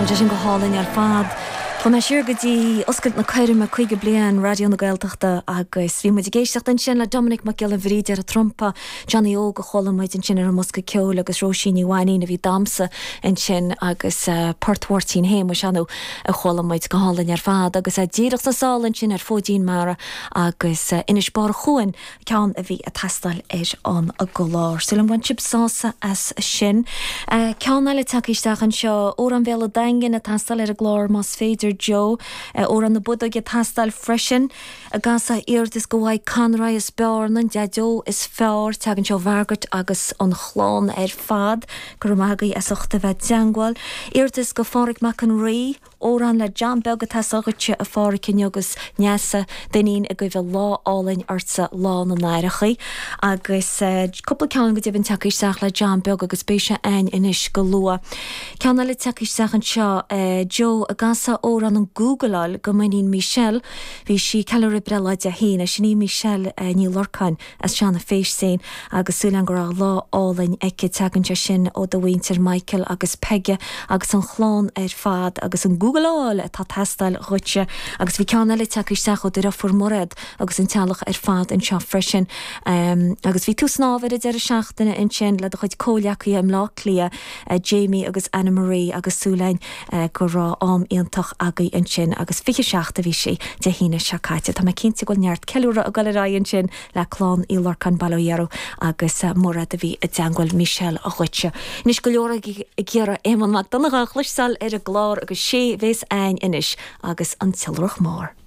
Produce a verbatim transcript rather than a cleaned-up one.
Tá sé sin go hálainn ar fad. Tá mé siar go dtí oscailt na coirme caoga bliain Raidió na Gaeltachta agus bhí muid ag éisteacht ansin le Dominic Mac Giolla Bhríde ar an trumpa, Johnny Óg a chuala muid ansin ar an mbosca ceoil agus Róisín Ní Mhainín a bhí ag damhsa ansin agus uh, Port Mháirtín Shéamuis anu a chuala muid go hálainn ar fad agus a díreach sa sál ansin ar Fóidín Mara agus uh, Inis Bar Chuain ceann a bhí ag teastáil ar an gclár. Súil bhain sibh sásamh as sin. Uh, ceann eile tagtha isteach anseo Amhrán Bhéal an Daingin ag teastáil ar an gclár más féidir Joe Amhrán na Bodóige ag teastáil freisin a gasa iardas go bhfuil Conroy is Bearna an deadeo is fearr tagann seo Mhargaret agus an chlann ar fad go magaí as ucht a bheith i dteagmháil. Iarratas go Phádraig Mac an Rí Amhrán le John Beag atá agatsa a Pháraic agus Neasa Duinnín ag guí lá álainn ortsa lá na n-aithreacha agus uh, cúpla ceann go deimhin tagtha isteach le John Beag agus beidh sé againn anois go luath. Ceann eile tagtha isteach anseo uh, Joe a gasa amhrán an Googleáil go m'iníon Michelle, bhí sí ceiliúradh breithlá Dé hAoine sin í Michelle uh, Ní Lorcáin as Seana Féistéin agus súil go raibh lá álainn aici tagann sé sin ó do mhuintir Michael agus Peige agus an chlann ar fad agus an Googleáil atá ag teastáil dhuitse agus bhí ceann eile tagtha isteach ó do dheirfiúr Mairéad agus an teaghlach ar fad anseo freisin um, agus bhí tú ag snámh ar an deireadh seachtaine ansin le do chuid comhghleacaithe i mBleá Cliath uh, Jamie agus Anna Marie agus súil againn uh, go raibh am iontach agaibh ansin agus fiche seacht a bhí sé Dé hAoine seo caite Tá mé cinnte go bhfuil neart ceiliúradh ag dul ar aghaidh ansin le clann Uí Lorcáin Baile Dhéaró agus uh, Mairéad a bhí i dteagmháil Michelle a dhuitse. Anois go leor ag iarraidh Éamonn Mac Donncha a chloisteáil ar an gclár agus sé a bheas againn anois agus an tIolrach Mór.